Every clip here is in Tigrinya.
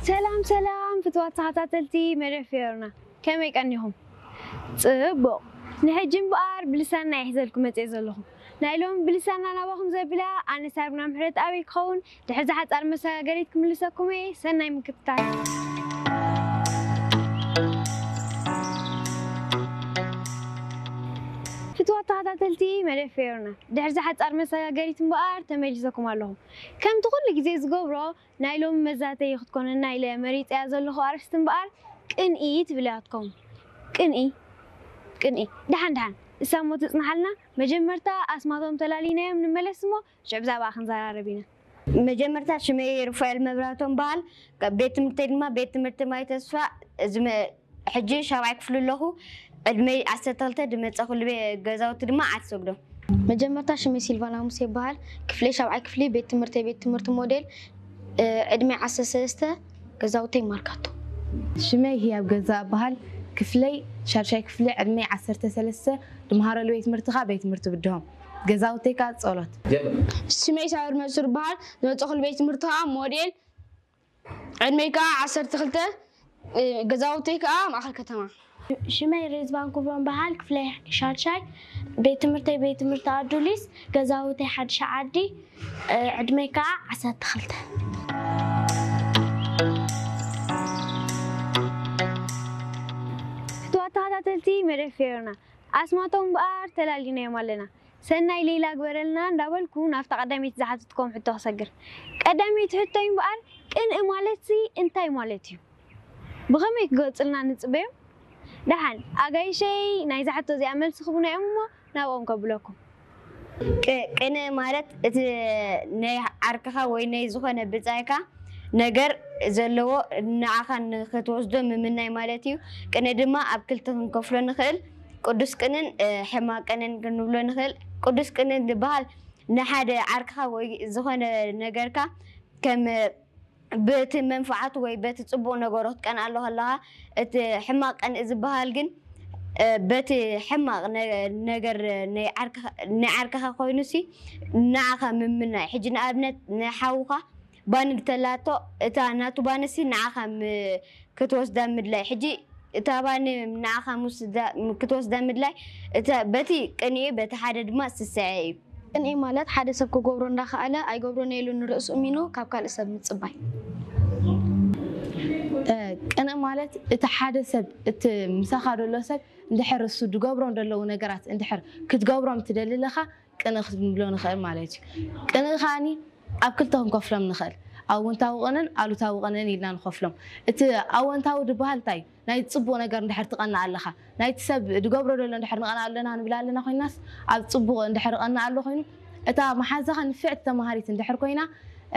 ሰላም ሰላም ፍትዋት ተኸታተልቲ መደብ ፌዮርና፣ ከመይ ቀኒኹም? ጽቡቕ። ንሕጂ እምበኣር ብልሳና እየ ሒዘልኩም መጽየ ዘለኹ። ናይ ሎሚ ብልሳና ናባኹም ዘብላ ኣነ ሳብና ምሕረት ኣበይ ክኸውን ድሕሪ ዝሓጻር መሰጋገሪት ክምልሰኩም እየ። ሰናይ ምክትታል። ፍትዋት ተኸታተልቲ መደብ ፌዮርና፣ ድሕሪ ዝሓጻር መሰጋገሪት እምበኣር ተመሊሰኩም ኣለኹም። ከምቲ ኩሉ ግዜ ዝገብሮ ናይ ሎሚ መዛተይ ክትኮነና ኢለ መሪጸያ ዘለኹ ኣርእስቲ እምበኣር ቅንኢ ትብል እያ ክትከውን። ቅንኢ፣ ቅንኢ። ደሓን ደሓን፣ እሳ እሞ ትጽንሓልና። መጀመርታ ኣስማቶም ተላሊናዮም ንመለስ እሞ ሽዑ ብዛዕባ ክንዘራረብ ኢና። መጀመርታ ሽመይ ሩፋኤል መብራህቶም በሃል። ቤት ትምህርተይ ድማ ቤት ትምህርቲ ማይ ተስፋ። እዚ መ-፣ ሕጂ ሻብዓይ ክፍሊ ኣለኹ። ዕድመይ ዓሰርተ ክልተ፣ ዝመጸኹሉ ቤ-፣ ገዛውቲ ድማ ዓዲ ሰግዶ። መጀመርታ ሽመይ ሲልቫና ሙሴ ይበሃል። ክፍለይ ሻብዓይ ክፍሊ፣ ቤት ትምህርተይ ቤት ትምህርቲ ሞዴል፣ እ፣ ዕድመይ ዓሰርተ ሰለስተ፣ ገዛውተይ ማርካቶ። ሽመይ ህያብ ገዛ እበሃል። ክፍለይ ሻድሻይ ክፍሊ፣ ዕድመይ ዓሰርተ ሰለስተ፣ ድመሃረሉ ቤት ትምህርቲ ከኣ ቤት ትምህርቲ ብድሆም፣ ገዛውተይ ከኣ ጸሎት። ሽመይ ሳብር መንሱር ይበሃል። ዝመጸኹሉ ቤት ትምህርቲ ከኣ ሞዴል፣ ዕድመይ ከኣ ዓሰርተ ክልተ፣ እ፣ ገዛውተይ ከኣ ማእከል ከተማ። ሽመይ ሬዝባን ኩብሮም በሃል። ክፍለይ ሻድሻይ፣ ቤት ትምህርተይ ቤት ትምህርቲ ኣዱሊስ፣ ገዛውተይ ሓድሻ ዓዲ፣ እ፣ ዕድመይ ከኣ ዓሰርተ ክልተ። ፍትዋት ተኸታተልቲ መደብ ፌዮርና፣ ኣስማቶም እምበኣር ተላሊናዮም ኣለና። ሰናይ ሌላ ግበረልና እንዳበልኩ ናብታ ቀዳመይቲ ዝሓተትኩም ሕቶ ክሰግር። ቀዳመይቲ ሕቶይ እምበኣር ቅንኢ ማለትሲ እንታይ ማለት እዩ? ብኸመይ ክገልጹልና ንጽበዮም? ደሓን ኣጋይሸይ ናይዛ ሕቶ እዚኣ መልሲ ክህቡና እዮም እሞ ናብኦም ከብለኩም። ቅ-፣ ቅንኢ ማለት እቲ ናይ ዓርክኻ ወይ ናይ ዝኾነ ብጻይካ ነገር ዘለዎ ንዓኻ ንኽትወስዶ ምምናይ ማለት እዩ። ቅንኢ ድማ ኣብ ክልተ ክንከፍሎ ንኽእል። ቅዱስ ቅንእን፣ እ፣ ሕማቕ ቅንእን ክንብሎ ንኽእል። ቅዱስ ቅንእ ዝበሃል ንሓደ ዓርክኻ ወይ ዝኾነ ነገርካ ከም በቲ መንፍዓቱ ወይ በቲ ጽቡቕ ነገሩ ክትቀንኣሉ ከለኻ፣ እቲ ሕማቕ ቅንኢ ዝበሃል ግን፣ እ፣ በቲ ሕማቕ ነ-፣ ነገር ናይ ዓርክኻ፣ ናይ ዓርክኻ ኮይኑሲ ንዓኻ ምምናይ። ሕጂ ንኣብነት ንሓውኻ ባኒ እንተላቶ፣ እታ ናቱ ባንሲ ንዓኻ ም-፣ ክትወስዳ ምድላይ። ሕጂ እታ ባኒ ንዓኻ ምስዳ-፣ ም-፣ ክትወስዳ ምድላይ፣ እታ በቲ ቅንኢ፣ በቲ ሓደ ድማ ስስዐ እዩ። ቅንኢ ማለት ሓደ ሰብ ክገብሮ እንዳኸኣለ ኣይገብሮን ኢሉ ንርእሱ እሚኑ ካብ ካልእ ሰብ ምጽባይ። እ፣ ቅንኢ ማለት እቲ ሓደ ሰብ፣ እቲ ምሳኻ ዘሎ ሰብ እንድሕር እሱ ዝገብሮም ዘለዉ ነገራት እንድሕር ክትገብሮም ትደሊ ኣለኻ፣ ቅንኢ ክንብሎ ንኽእል ማለት እዩ። ቅንኢ ከኣኒ ኣብ ክልተ ክንከፍሎም ንኽእል። ኣወንታዊ ቅንእን ኣሉታዊ ቅንእን ኢልና ንኸፍሎም። እቲ ኣወንታዊ ዝበሃል እንታይ እዩ? ናይ ጽቡቕ ነገር እንድሕር ትቐንእ ኣለኻ፣ ናይቲ ሰብ ዝገብሮ ዘሎ እንድሕር ንቐንእ ኣለና ንብል ኣለና ኮይናስ፣ ኣብ ጽቡቕ እንድሕር እቐንእ ኣሎ ኮይኑ፣ እታ መሓዛኻ ንፍዕቲ ተማሃሪት እንድሕር ኮይና፣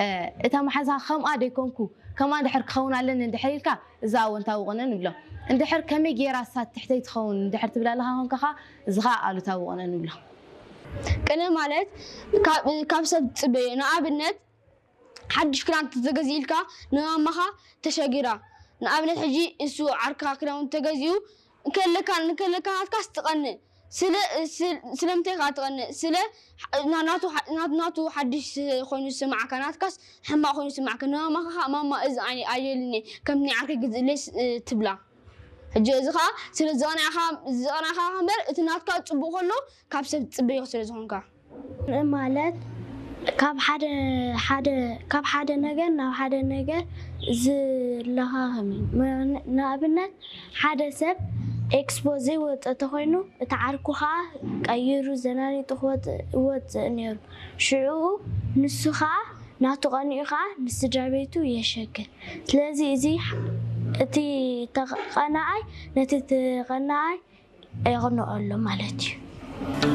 እ፣ እታ መሓዛኻ ከምኣ ደይኮንኩ፣ ከምኣ እንድሕር ክኸውን ኣለኒ እንድሕር ኢልካ፣ እዚ ኣወንታዊ ቅንኢ ንብሎ። እንድሕር ከመይ ገይራ እሳ ትሕተይ ትኸውን እንድሕር ትብል ኣለኻ ኮንካ ኸኣ፣ እዚ ኸኣ ኣሉታዊ ቅንኢ ንብሎ። ቅንኢ ማለት ካብ፣ ካብ ሰብ ትጽበዮ። ንኣብነት፣ ሓድሽ ክዳን ተተገዚእልካ ንማማኻ ተሸጊራ። ንኣብነት፣ ሕጂ እሱ ዓርክኻ ክዳውንቲ ተገዚኡ እንከለካ፣ እንከለካ ናትካስ ትቐንእ። ስለ፣ ስለ፣ ስለምንታይ ከኣ ትቐንእ? ስለ ና-፣ ናቱ ሓ-፣ ናቱ፣ ናቱ ሓድሽ ኮይኑ ዝስምዓካ፣ ናትካስ ሕማቕ ኮይኑ ዝስምዓካ። ንማማኻ ኸኣ፣ "ማማ፣ እዚ ኣይ-፣ ኣየልኒ፣ ከምቲ ናይ ዓርከይ ግዝእለይ" ስ-፣ ትብላ። ሕጂ እዚ ኸኣ ስለ ዝቐናእካ፣ ዝቐናእካ እምበር፣ እቲ ናትካ ጽቡቕ ከሎ ካብ ሰብ ትጽበዮ ስለ ዝኾንካ። ማለት ካብ ሓደ፣ ሓደ፣ ካብ ሓደ ነገር ናብ ሓደ ነገር ዝለኻኸም እዩ። ም-፣ ንኣብነት ሓደ ሰብ ኤክስፖ ዘይወጽእ ተኾይኑ፣ እቲ ዓርኩ ኸኣ ቀይሩ ዘናኒጡ ክወጽእ፣ ይወጽእ ነይሩ። ሽዑ ንሱ ኸኣ ናቱ ቀኒኡ ኸኣ ንስድራ ቤቱ የሸግር። ስለዚ እዚ ሕ-፣ እቲ ተቐናኣይ ነቲ ተቐናኣይ የቕንኦ ኣሎ ማለት እዩ።